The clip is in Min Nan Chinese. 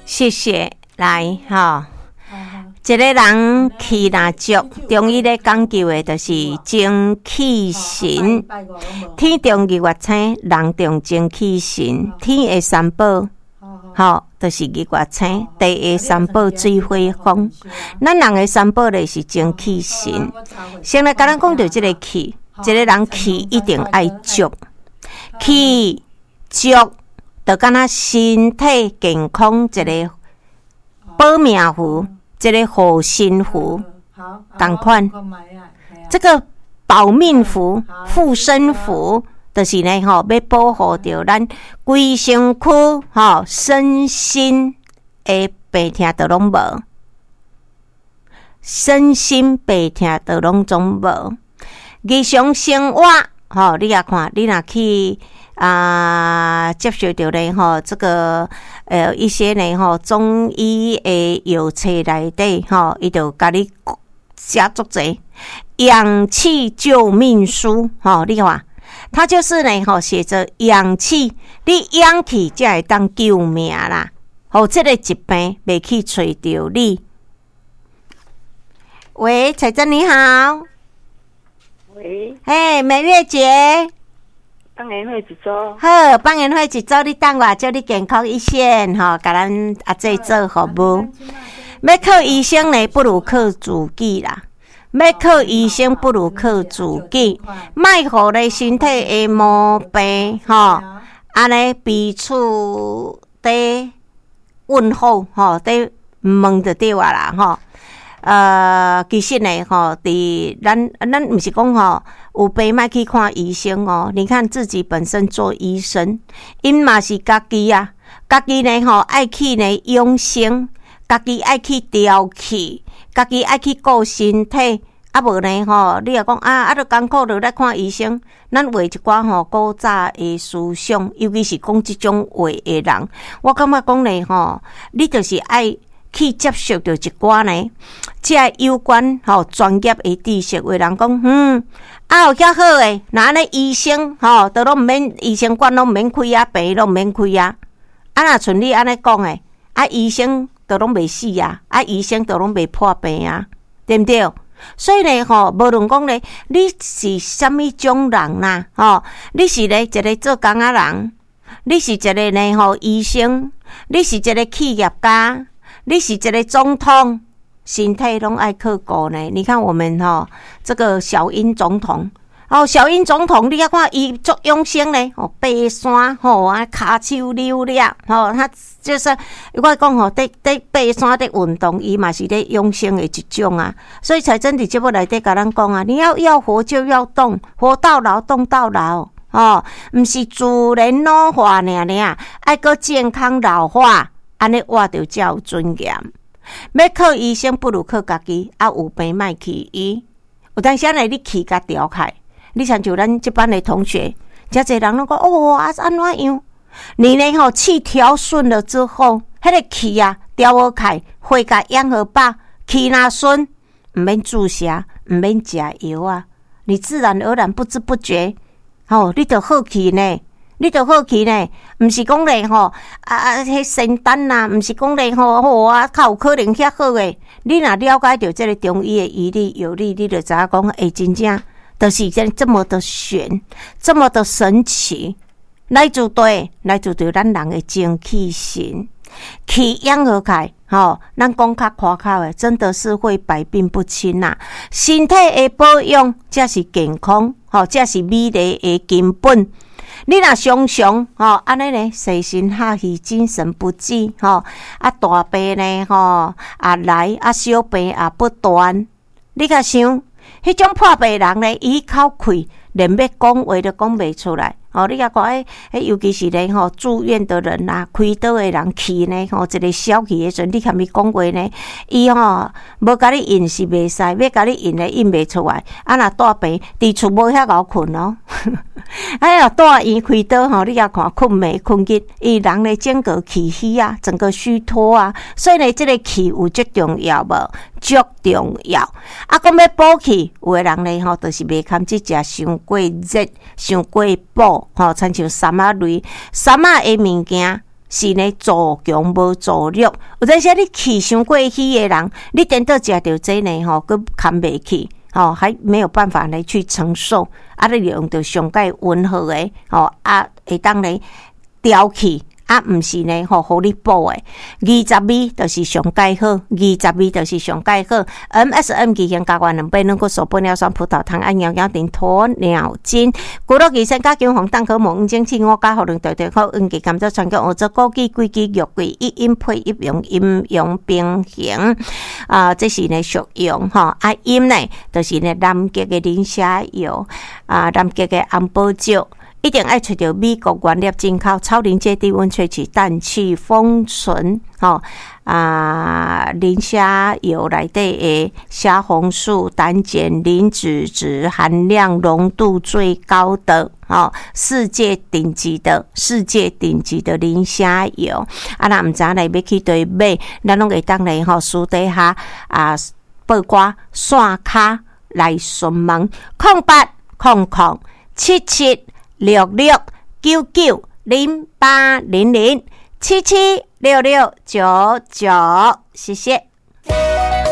謝謝，來吼。一個人氣若足，中醫咧講究的就是精氣神。天動日月星，人動精氣神。天的三寶，吼，就是日月星；地的三寶，水火風。咱人的三寶咧是精氣神。先來共咱講著這个氣，一個人氣一定愛足，氣足，就敢若身體健康一個保命符，這个護身符，仝款。這个保命符、護身符，就是呢吼，欲保護著咱規身軀吼身心的病痛都攏無，身心病痛都攏總無。日常生活吼，你也看，你若去啊接受著咧吼，這个一些呢吼中醫的藥冊內底吼，伊就共你寫足濟養氣救命書吼，你看，他就是呢吼寫著養氣，你養氣才會當救命啦，予這个疾病袂去揣著你。喂，彩珍你好。喂。嘿，美月姐。放煙火一組。好，放煙火一組，你等我，祝你健康一線吼，共咱阿姐做服務。欲靠醫生呢，不如靠自己啦。欲靠醫生，不如靠自己。莫予咧身體的毛病吼，按呢彼此佇問候吼，佇問就對啊啦吼。其實呢，吼，佇咱咱毋是講吼，有病莫去看醫生哦。你看自己本身做醫生，𪜶嘛是家己啊，家己呢吼愛去呢養生，家己愛去調氣，家己愛去顧身體。啊無呢吼，你若講啊啊，著艱苦著來看醫生。咱畫一寡吼古早的思想，尤其是講這種話的人，我感覺講呢吼，你就是愛去接受著一寡呢，這有關吼專業的知識。有人講，啊有遐好的，若按呢醫生吼，都攏毋免醫生館攏毋免開啊，病攏毋免開啊。啊若像你按呢講的，啊醫生都攏袂死啊，啊醫生都攏袂破病啊，對毋對？所以呢，吼，無論講咧，你是啥物種人啦，吼，你是咧一个做工仔人，你是一个呢吼醫生，你是一个企業家，你是一个總統，身體攏愛靠顧呢。你看我們吼，這個小英總統，哦，小英總統，你看伊足養生呢，哦，爬山吼啊，跤手扭了，吼，他就是我講吼，佇佇爬山佇運動，伊嘛是咧養生的一種啊。所以才真佇節目內底共咱講啊，你要活就要動，活到老動到老，哦，毋是自然老化爾爾，愛閣健康老化，按呢活著才有尊嚴。欲靠醫生不如靠家己，啊有病莫去醫。有當時呢，你氣共調開，你親像咱這班的同學，誠濟人攏講哦啊按怎樣？你呢吼氣調順了之後，彼个氣啊調好開，血共養予飽，氣若順，毋免注射，毋免食藥啊，你自然而然不知不覺，吼，你就好去呢。你就好去呢，毋是講咧吼，啊啊，彼仙丹啊，毋是講咧吼，吼啊，較有可能遐好的。你若了解著這个中醫的醫理藥理，你就知影講，欸，真正就是這麼的玄，這麼的神奇。來自對，來自著咱人的精氣神，氣養好開，吼，咱講較誇口的，真的是會百病不侵呐。身體的保養才是健康，吼，才是美麗的根本。你若常常吼按呢呢，精神哈氣，精神不濟吼，啊大病呢吼，啊來啊小病也不斷。你共想，彼種破病人呢，伊口氣連欲講話都講袂出來。吼，你共看，彼尤其是咧吼住院的人啊，開刀的人氣呢吼，一个消氣的時陣，你含伊講話呢，伊吼無共你應是袂使，欲共你應咧應袂出來。啊若蹛病佇厝無遐𠢕睏哦。哎呀，蹛院開刀吼，你共看睏暝睏日，伊人咧整個氣虛啊，整個虛脫啊，所以呢，這个氣有足重要無？足重要。啊，講欲補氣，有的人咧吼，就是袂堪得食傷過熱、傷過補，吼，親像參仔類、參仔的物件，是呢助強無助弱。有陣時你氣傷過虛的人，你顛倒食著這呢吼，閣堪袂去，吼，還沒有辦法來去承受。啊，你用著上蓋溫和的，吼，啊，會當來調氣。啊，毋是呢，吼，予你補的。22就是上蓋好，22就是上蓋好。MSM 二型加元2倍，軟骨素、玻尿酸、葡萄糖、按腰腰定、鴕鳥精、骨碌醫生、加強防彈可膜、黃精氣、五加、予兩條條口、黃芪、甘草、川芎、烏棗、枸杞、桂枝、肉桂，一陰配一陽，陰陽平衡。啊，這是呢屬陽吼，啊陰呢，就是呢南極的磷蝦油，啊南極的紅寶石。一定愛揣著美國原粒進口超臨界低溫萃取氮氣封存，吼啊磷蝦油內底的蝦紅素膽鹼磷脂質含量濃度最高的，吼世界頂級的世界頂級的磷蝦油。啊，若毋知影咧欲去佗買，咱攏會當咧吼私底下啊報掛線跤來詢問08007766990800776699，謝謝。